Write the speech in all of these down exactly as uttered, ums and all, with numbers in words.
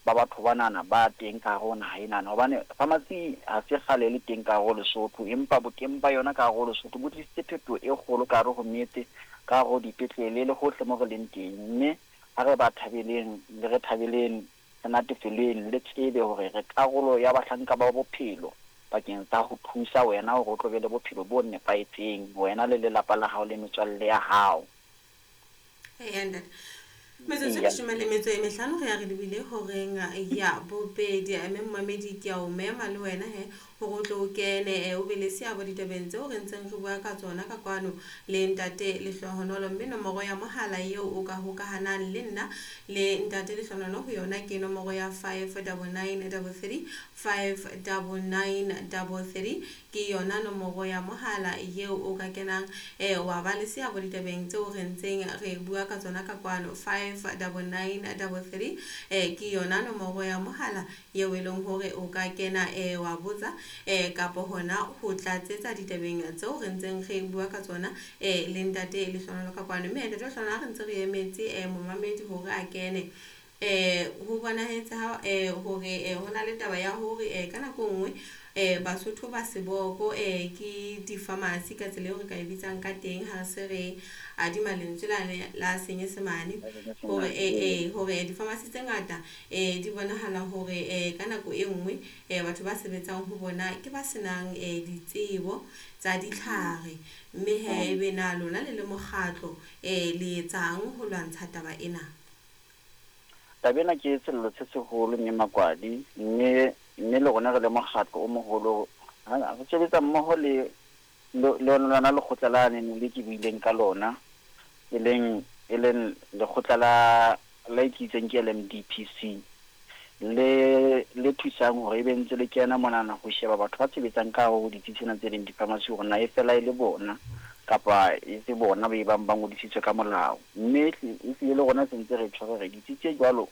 ba batho banana ba teng ka hare ho naha enana. Hobane pharmacy ha se kgale le teng ka hare ho Lesotho, empa boteng ba yona ka hare ho Lesotho bo tlisitse phetoho e kgolo ka hare ho metse, ka hare ho dipetlele le hohle mo re leng teng. Mme ha re ba thabeleng, le re thabeleng, re natefeleng, le tsebe hore re karolo ya bahlanka ba bophelo bakeng sa ho thusa wena hore o tlo be le bophelo bo nepahetseng, wena le lelapa la hao le metswalle ya hao. Eya ntate. Metsotso e leshome le metso e mehlano re ya re lebile horeng ya bobedi. Mme momamedi ke a o mema le wena he hore o tlo o kene eh, o be le seabo ditabeng tseo re ntseng re bua ka tsona ka kwano le ntate Lehlohonolo. Mme nomoro ya mohala eo o ka hokahanang le nna le ntate Lehlohonolo ho yona ke nomoro ya five double nine double three, five double nine double three. Ke yona nomoro ya mohala eo o ka kenang eh, wa ba le seabo ditabeng tseo re ntseng re bua ka tsona ka kwano. Five double nine double three eh, ke yona nomoro ya mohala eo e leng hore o ka kena eh, wa botsa eh, kapo hona ho tlatsetsa ditabeng tseo re ntseng re bua ka tsona eh, le ntate Lehlohonolo ka kwano. Mme ntate Lehlohonolo, ha re ntse re emetse eh, momamedi hore a kene, eh ho bonahetse ha eh hore eh ho na le taba ya hore eh ka nako e nngwe eh Basotho ba seboko eh ke di-pharmacy ka tsela eo re ka e bitsang ka teng ha se re adima lentswe lane la Senyesemane, hore eh eh hore di-pharmacy tse ngata eh di bonahala hore eh ka nako e nngwe eh batho ba sebetsang ho bona ke ba senang eh ditsebo tsa ditlhare. Mme he ebe na lona le le mokgatlo eh le etsang ho lwantsha taba ena? Taba ena ke sello se seholo mme Makwadi, mme mme le rona re le mokgatlo o moholo, ha re sebetsa mmoho le le le lona lekgotla la neng le ke buileng ka lona, e leng e leng lekgotla la la e ke itseng ke L M D P C, le le thusang hore ebe ntse le kena monana ho sheba batho ba sebetsang ka hare ho ditsi tsena tse leng di-pharmacy hore na e fela e le bona kapa e se bona ba e bang ba ngodisitswe ka molao. Mme e hlile le rona sentse re tshwere re ditsi tse jwalo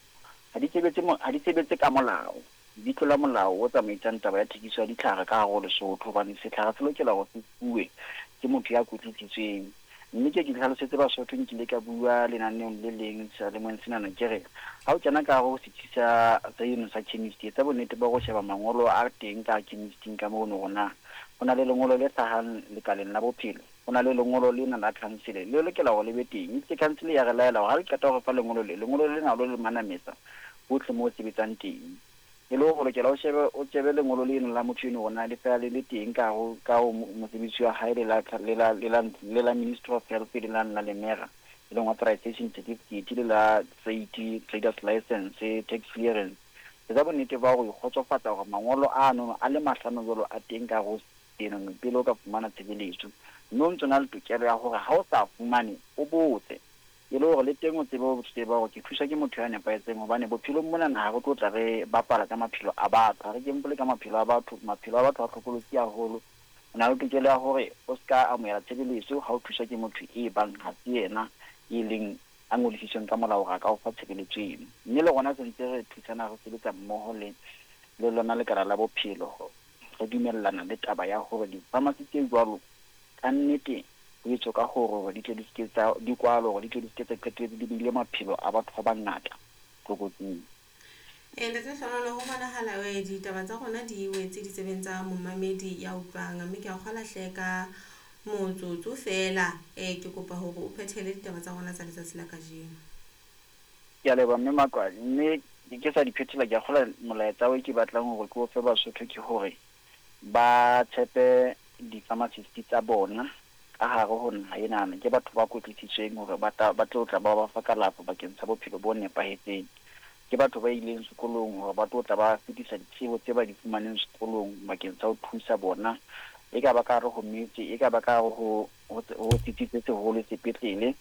ha di sebetse mo-, ha di sebetse ka molao, di tlola molao o tsamaisang taba ya thekiso ya ditlhare ka hare ho Lesotho, hobane setlhare se lokela hore se fuwe ke motho ya kwetlisitsweng. Mme ke ke hlalosetse Basotho, nkile ka bua lenaneong le leng sealemong senana, ke re ha o kena ka hare ho setsi sa, sa eno sa chemist, etsa bonnete ba ho sheba mangolo a teng ka chemisting ka mono hore na ho na le lengolo le hlahang lekaleng la bophelo, ho na le lengolo lena la council le lokela hore le be teng. Itse council ya re laela hore ha le qeta ho re fa lengolo le, lengolo lena lo le manametsa hohle moo o sebetsang teng. E le hore o lokela o shebe, o shebe lengolo leno la motho eno hore na le fela le le teng ka ho, ka ho mosebetsi wa hae le la, le la, le la, le la Ministry of Health le la, la Lemera, e leng authorization certificate, le la trade, traders license, tax clearance. Etsa bonnete ba hore o ikgotsofatsa hore mangolo ano a le mahlano jwalo a teng ka ho eno pele o ka fumana tshebeletso. Mme o ntso na le tokelo ya hore ha o sa fumane o botse, e le hore le teng o tsebe ho tseba hore ke thuswa ke motho ya nepahetseng. Hobane bophelong mona ha re tlo tla re bapala ka maphelo a batho, ha re kempole ka maphelo a batho, maphelo a batho a hlokolosi haholo. O na le tokelo ya hore o ska amohela tshebeletso ha o thuswa ke motho e bang ha se yena e leng a ngodisitsweng ka molao hore a ka o fa tshebeletso eno. Mme le rona sentse re thusana, re sebetsa mmoho le, le lona lekala la bophelo, re dumellana le taba ya hore di-pharmacy tse jwalo ka nnete ho etswe ka hore hore di tle di seke tsa, di kwalwe hore di tle di seke tsa qetelletse di beile maphelo a batho ba bangata tlokotsing. Eh, Ntate Lehlohonolo, ho bonahala eh, ditaba tsa rona di wetse ditsebeng tsa momamedi ya utlwang, mme ke a kgolwa hle ka motsotso feela, eh, ke kopa hore o phethele ditaba tsa rona tsa letsatsi la kajeno. Ke a leboha mme Makwadi, mme ke sa di phethela, ke a kgolwa molaetsa o ke batlang hore ke o fe Basotho ke hore ba tshepe di-pharmacist tsa bona ka hare ho naha enana. Ke batho ba kwetlisitsweng hore ba tla, ba tlo tla ba ba fa kalafo bakeng sa bophelo bo nepahetseng. Ke batho ba ileng sekolong hore ba tlo tla ba fetisa ditsebo tse ba di fumaneng sekolong bakeng sa ho thusa bona, e ka ba ka hare ho metse, e ka ba ka hare ho, ho, ho setsi se seholo sepetlele,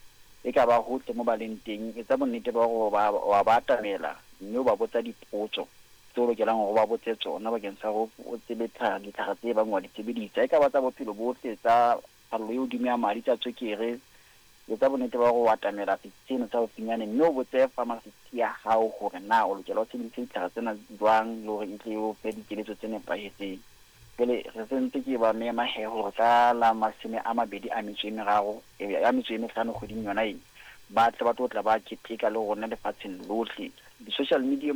e ka ba hohle mo ba leng teng. Etsa bonnete ba hore ba, wa ba atamela mme o ba botsa dipotso tseo o lokelang hore o ba botse tsona bakeng sa hore o tsebe tlha-, ditlhare tse bang wa di sebedisa, e ka ba tsa bophelo bohle, tsa phallo e hodimo ya madi, tsa tswekere. Etsa bonnete ba hore o atamela setsi seno sa haufinyane mme o botse pharmacist ya hao hore na o lokela o sebedise ditlhare tsena jwang le hore e tle o fe dikeletso tse nepahetseng. Jwale re sentse ke ba mema he hore ka la mashome a mabedi a metso e meraro, e, a metso e mehlano kgweding yona ena, ba tle ba tlo tla ba keteka le rona lefatsheng lohle. Di-social media